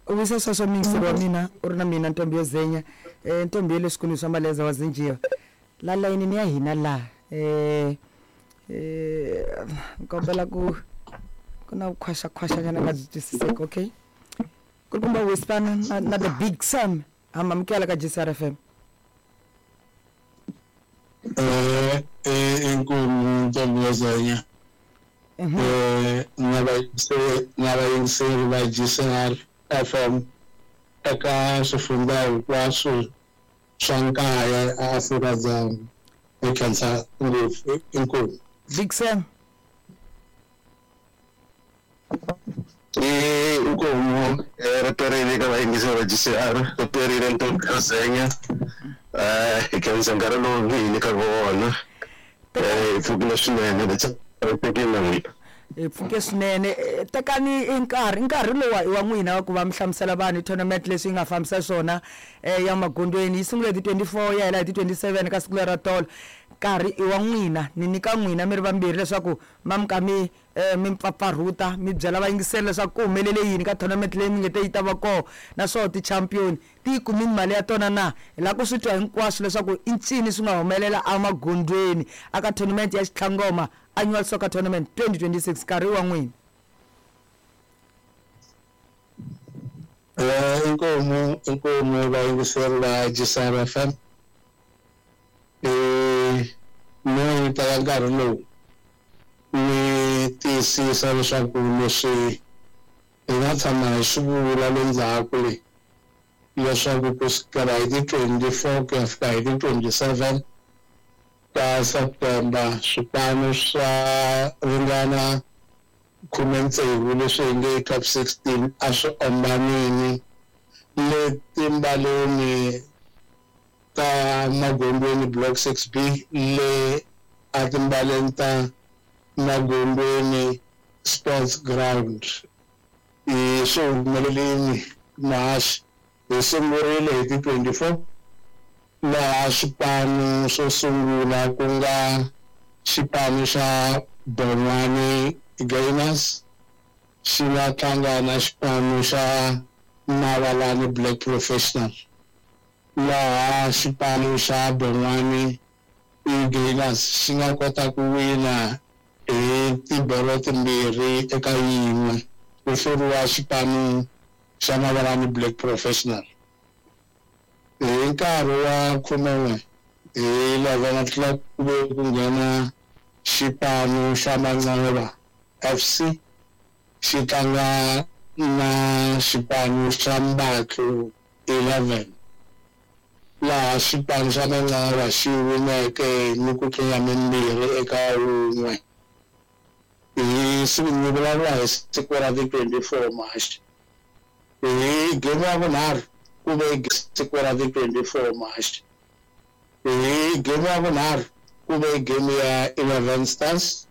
U visa sweswo muyingiseri wa mina u ri na mina ntombi yo zenya um ntombi ya le swikolweni swa maleza wa zinjiwa la layinini ya hina laha um um kombela ku ku na vukhwaxakhwaxanyana nga byi twisiseki okay kulukumba whisper na the big sam ha mi amukela ka GCR FM. Inkomu ntombi yo zenya na vayingiseri na vayingiseri va GCR FM eka swifundza hinkwaswo swa nkaya eAfrika-Dzonga hi khensa ngopfu inkomu. Big Sam. I inkomu ri perile ka vayingiseri va GCR ri perile ntombi yo zenya hi khensa nkarhi lowu mi hi nyikaka wona hi pfukile swinene tekile na n'wina. Hi pfuke swinene. Tekani nkarhi nkarhi lowa i wa n'wina wa ku va mi hlamusela vanhu hi tournament leswi yi nga fambisa swona ya magondzweni yi sungule hi ti 24 ya hela hi ti 27 ka siku lera tolo nkarhi i wa n'wina ni nyika n'wina mi ri vambirhi leswaku ma mi ka mi mi mpfapfarhuta mi byela vayingiseri leswaku ku humelele yini ka tournament leyi mi nge te yi ta va kona naswona ti-champion ti yi kumini mali ya tona na hi lava ku swi twa hinkwaswo leswaku i ncini swi nga humelela emagondzweni aka tournament ya Xitlhangoma annual soccer tournament 2026 nkarhi wa n'wina. Inkomu inkomu vayingiseri va GCR FM ni teka nkarhi lowu ni tiyisisa leswaku leswi hi nga tshama hi swi vula le ndzhaku le leswaku ku sukela hi ti 24 ku ya fika hi ti 27 ta September swipano swa ringana 16 leswi hi nge top 16 a swi ombanini le timbaleni ta Magondweni block 6B le a timbaleni ta Magondweni sports ground hi swi humelelini mahaxi hi sungurile hi ti 24 laha swipano swo sungula ku nga xipano xa Bonwani Gainers xi nga tlanga na xipano xa Mavalani Black Professional laha xipano xa Bonwani Gainers xi nga kota ku wina hi tibolo timbirhi eka yin'we ku hluriwa xipano xa Mavalani Black Professional hi nkarhi wa 11 hi 11 o'clock ku ve ku nghena xipano xa Manxeba FC xi tlanga na xipano xa Mbatlu 11 laha xipano xa Manxeba xi wineke ni ku tlula mimbirhi eka wun'we hi siku ni vulavula hi siku ra ti 24 March hi game ya vunharhu ku ve siku ra ti 24 March hi game ya vunharhu ku ve game ya 11 Stars